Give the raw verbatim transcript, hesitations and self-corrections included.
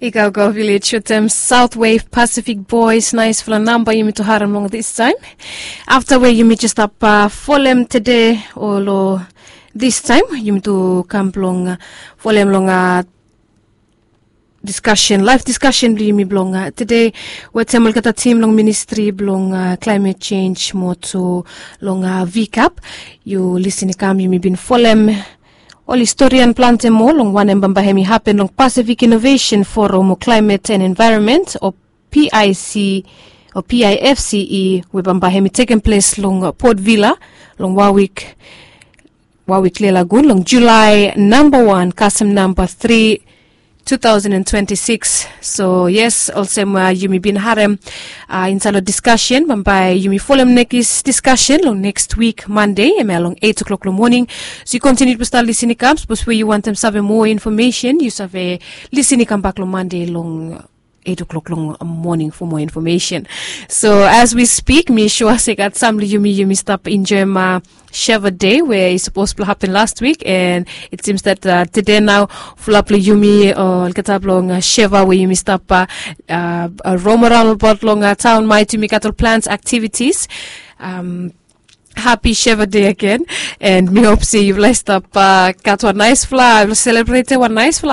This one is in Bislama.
I go go vilej wetem South Wave Pacific Boys, naisfala namba yumi tu harem long this time. Afta we yumi just stap uh, folem tede o lo this time yumi tu kam blong uh, folem long uh, discussion, live discussion bli yumi blong uh, tede wetem olgeta tim long ministri blong uh, climate change mo tu long uh, vcap. Yu lisin i kam yumi bin folem ol historian plante moa long wanem bambae hemi hapen long Pacific Innovation Forum o Climate and Environment o PIC o PIFCE we bambae hemi tekem ples long Port Vila long wan wik, wan wik lelagun long Julai namba wan kasem namba tri, two thousand and twenty-six. So yes, olsem uh, yumi bin harem uh, inside lo discussion bambae yumi folem nekis discussion long next week Monday, emia long eight o'clock long morning. So yu kontiniu tu stap lisin i kam, sapos we yu wantem save moa information yu save lisin i kam bak long Monday long eight o'clock long morning for more information. So as we speak, mi sua se gat sam lo yumi yumi stap enjoy ma Sheva Day we i sapos blong happen last week, and it seems that uh, tede nao fulap lo yumi olgeta blong uh, Sheva we yumi stap uh, uh, rom around about long uh, town might yumi gat ol plans activities. Um, happy Sheva Day again, and mi hop se yufala i stap uh, gat wan naisfala, celebrate wan naisfala